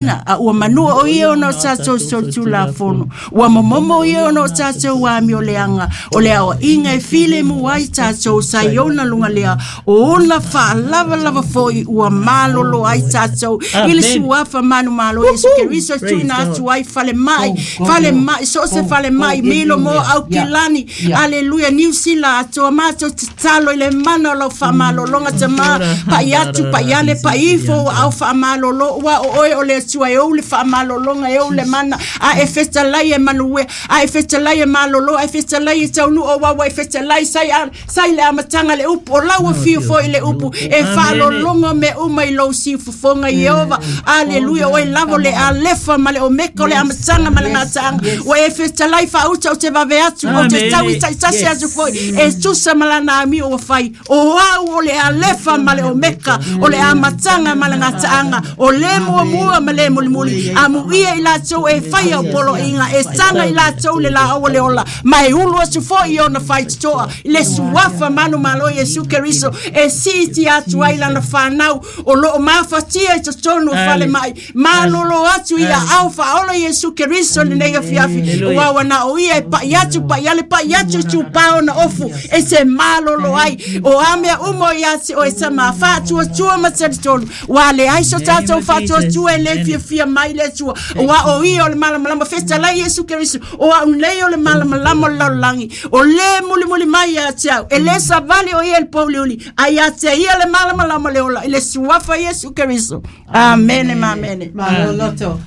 A ua manua o ia ona o tatou solitulafono, ua momomo ia ona o tatou amioleaga, o le aoaiga e filemu ai tatou sa i ona luga lea, o ona faalavalava foi ua malolo ai tatou i le suafa manumalo Iesu Keriso e tuuina atu ai falemai, falemai, so o se falemai, milo mo Aukilani, aleluia, Niu Sila atoa, matou tatalo i le mana o lau faamalologa tama, pai atu, pai ane, pai ifo ua au faamalolo, ua o oe o le Atua e ou le faamalologa, e ou le mana, a e fetalai e manuia, a e fetalai e malolo, a e fetalai e taunuu, aua ua e fetalai sai, a, sai le amataga le upu, o lau afio foi le upu, e faalologo mea uma i lou siufofoga, Ieova, aleluia, o oe lava o le Alefa ma le Omeka, o le amataga ma le gataaga, ua e fetalai faauta, ou te vave atu, ou te tau i taitasi atu foi, e tusa ma lana amio ua fai. O au o le Alefa ma le Omeka, o le amataga ma le gataaga, o le muamua ma le mulimuli. Amuia i latou e fai au poloaiga, e taga i latou le laau o le ola, ma e ulu atu foi i ona faitotoa i le suafa manumalo Iesu Keriso, e siitia atu ai lana fanau o lo o mafatia i totonu o falemai. Malolo atu i aao faaola Iesu Keriso i lenei afiafi, aua ua na o ia e pai atu, pai ale, pai atu i tupā ona ofu e te malolo ai. O a mea uma o ia te oe tama, faatuatua ma talitonu, ua leai so tatou faatuatua e le fiafia mai le Atua, aua o ia o le malamalama. Fetalai Iesu Keriso, o au nei o le malamalama o le lalolagi, o le mulimuli mai ia te au, e le savali o ia i le pouliuli, a ia te ia le malamalama o le ola, i le suafa Iesu Keriso. Amene ma amene. Malo loto.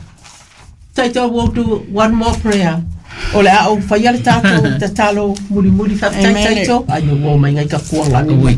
Taito, we'll do one more prayer. O le a ou faia le tatou tatalo mulimuli faafetai. Amen. Taito. Ai ua mai ngai ka kuanga ni mai.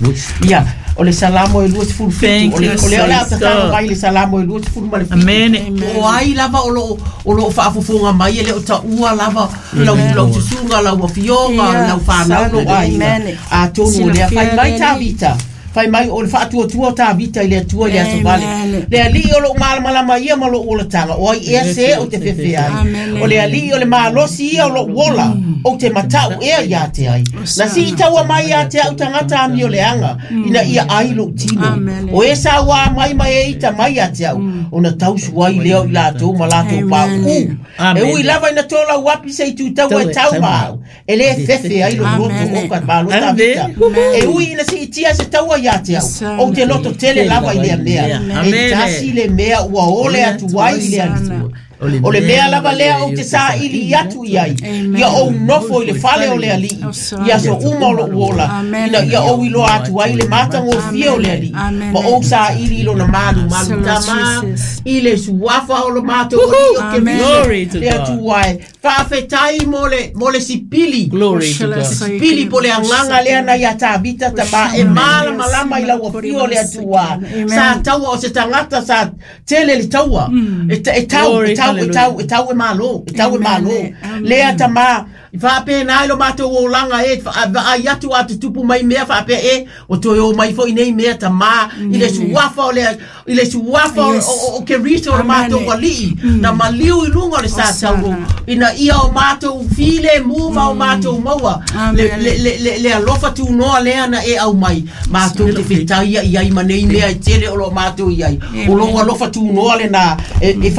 Ia, o le Salamo e 27. Thank O le you, o le o le a Sister. tatalo mai le Salamo e 27. Amen. O ai lava o lo o faafofoga mai e le o taua lava lau susuga, lau afioga, lau fanau, lou aiga. Amen. Atonu o lea fai Silafia mai le Tavita. Fai mai o le faatuatua o Tavita i le Atua i le aso vale. Amen. Le Alii o lou malamalama ia ma lou olataga, o ai ea se ou te fefe ai? Amen. O le Alii o le malosi ia o lou ola, ou te matau ea ia te ai? Na sii taua mai ia te au tagata amioleaga, ina ia ai lou tino. Amen. O e sauā mai ma e ita mai ia te au, ona tausu ai lea o i latou ma latou pauu. E Amen. ui lava ina tolau api se i tutaua e tau ma au, e le fefe ai lou loto Amen. o ka malo Amen. Tavita. E ui ina siitia se taua ia te au, ou te loto tele lava i lea mea. E Amen. tasi le mea ua ole atu ai i le Alii. O le mea lava lea ou te saili atu i ai, ia ou nofo i le fale o le Alii i aso uma o lou ola, Amen. ina ia ou iloa atu ai le matagofie o le Alii, Amen. ma ou saili i lona malumalu Lord tama Jesus. i le suafa o le matou Alii o Amen. Keriso Glory to le God. Atua e. Faafetai mo le sipili Glory to God. pili po le agaga lea na ia Tavita tama e malamalama i lau afio o le Atua. Amen. Sa taua o se tagata sa tele le taua e tau Glory, e tau e tau e tau e malo e tau e malo Amen. lea tama i faapena ai lo matou olaga e vaai atu a tutupu mai mea faapea e o toe o mai foi nei mea tama i le suafa o le i le suafa o- o o Keriso o le Amen. matou Alii na maliu i luga o le sa tauro ina ia o matou filemu ma o matou maua le Amen. le le le, le alofa tunoa lea na e au mai matou te fetaia i ai ma nei mea e tele o lo matou i ai o lou alofa tunoa lena e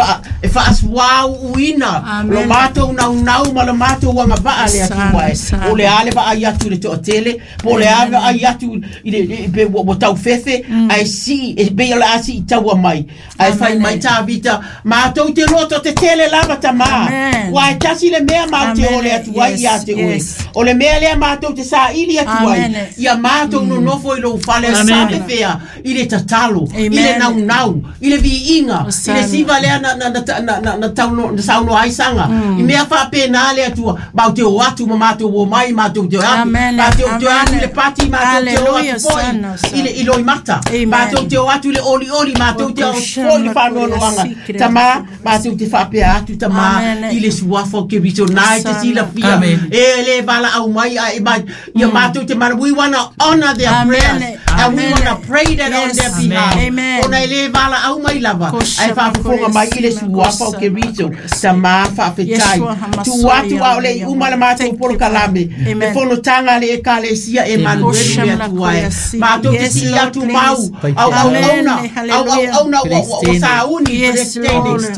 faasuauuina Amen. lo matou naunau ma le matou agavaa le Atua e Sana, sana. o le a le vaai atu i le toatele po o le a vaai atu i le pe ua taufefe ae sii e pei o le a sii taua mai ae fai mai Tavita matou te loto tetele lava tama Amen. ua e tasi le mea matou te Amen. ole atu ai ia te oe o le mea lea matou te saili atu ai Amen. ia matou nonofo i lou fale Amen. safefea i le tatalo i le Amen. naunau i le viiga i le Osana. siva lea na tauno na saunoa ai saga i mea faapena le Atua matou te o atu ma matou o mai matou te o atu Amen. matou te o atu i le Amen. pati matou te o atu Hallelujah. foi Sana, i le i loimata Amen. matou te o atu i le olioli matou te o atu foi i le faanoanoaga tama matou te faapea atu tama Amen. i le suafa o Keriso na e te Osana. silafia Amen. e le valaau mai a e mai ia matou te mana. We wanna honor their Amen. prayers. And we want to pray that on their behalf. Amen. Ona e le valaau mai lava Kosha ae faafofoga mai i le suafa o Keriso tamā faafetai Yeshua HaMashiach. tuu atu a o le iuma le matou Thank you, polokalame Father. le Amen. fonotaga a le ekalesia e manuelu le atua e matou te Yes, sii Lord, atu mau please. auauauna Amen. Hallelujah. auauauna ua sauni Yes, Peresetene Lord. ua